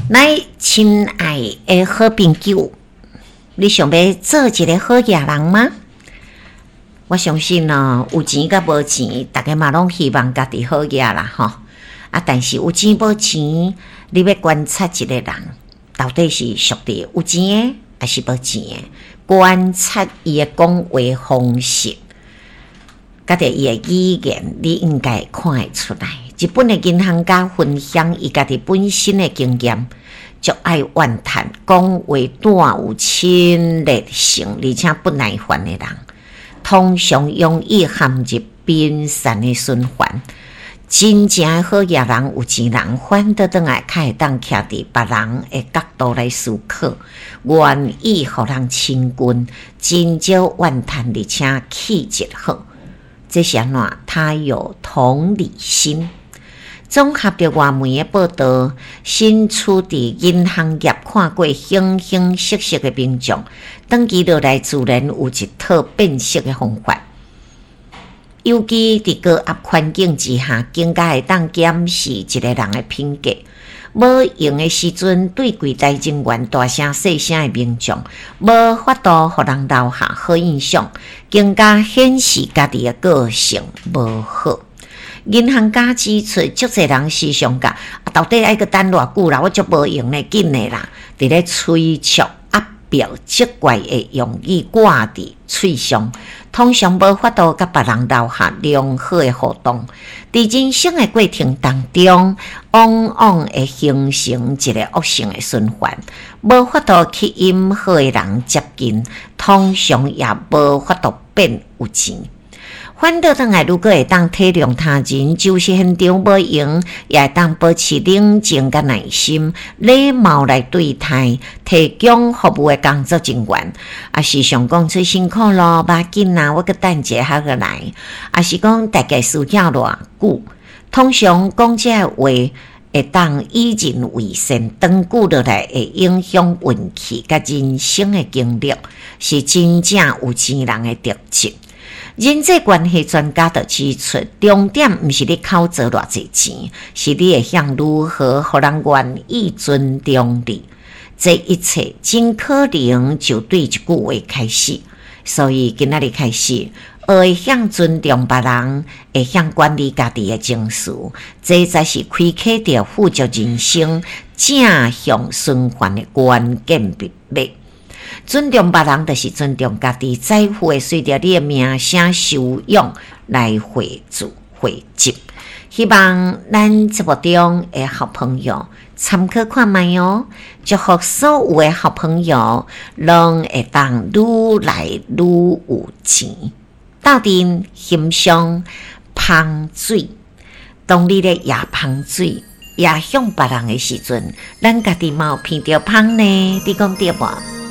來，親愛的好朋友，你想欲做一个好額人嗎？我相信哦，有錢佮無錢，逐家嘛攏希望家己好額啦，吼。啊，但是有錢無錢，你欲觀察一个人，到底是屬佇有錢的，抑是無錢的？觀察伊的講話方式，佮著伊的語言，你應該會看會出來。日本的銀行家分享伊家己本身的經驗，足愛怨嘆，講話帶有侵略性，而且不耐煩的人，通常容易陷入貧散的循環。真正的好額人，有錢人，反倒轉來較會當徛佇別人的角度來思考，願意予人親近，真少怨嘆，而且氣質好。這是按怎？他有同理心。綜合著外媒的報導，身處佇銀行業看過形形色色的民眾，長期落來自然有一套辨識的方法。尤其佇高壓環境之下，更加會當檢視一个人的品格。無閒的時陣，對櫃台人員大聲細聲的民眾，無法度予人留下好印象，更加顯示家己的個性無好。銀行家指出，足濟人時常共啊，到底愛閣等偌久啦？我足無閒咧，緊的啦！佇咧催促、壓迫、責怪的用語掛佇喙上，通常無法度佮別人留下良好的互動。佇人生的過程當中，往往會形成一个惡性的循環，無法度吸引好的人接近，通常也無法度變有錢。反倒轉來，如果會當體諒他人，就是現場無閒，也會當保持冷靜佮耐心、禮貌來對待提供服務的工作人員。抑是想講出辛苦咯，無要緊啦，我閣等一下閣來。抑是講大概需要偌久？通常講這个話會當與人為善，長久落來會影響運氣佮人生的經歷，是真正有錢人的特質。人際關係專家就指出，重點毋是你口做偌濟錢，是你會曉如何予人願意尊重你。這一切真可能就對一句話開始。所以今仔日開始，學會曉尊重別人，會曉管理家己的情緒，這才是開啟著富足人生正向循環的關鍵密碼。尊重別人，就是尊重家己，財富會隨著你的名聲修養來匯聚匯集。希望咱節目中的好朋友參考看覓哦，祝福所有的好朋友攏會當愈來愈有錢。鬥陣欣賞芳水，當你咧掖芳水，掖向別人的時陣，咱家己嘛有鼻著芳呢，你講對無？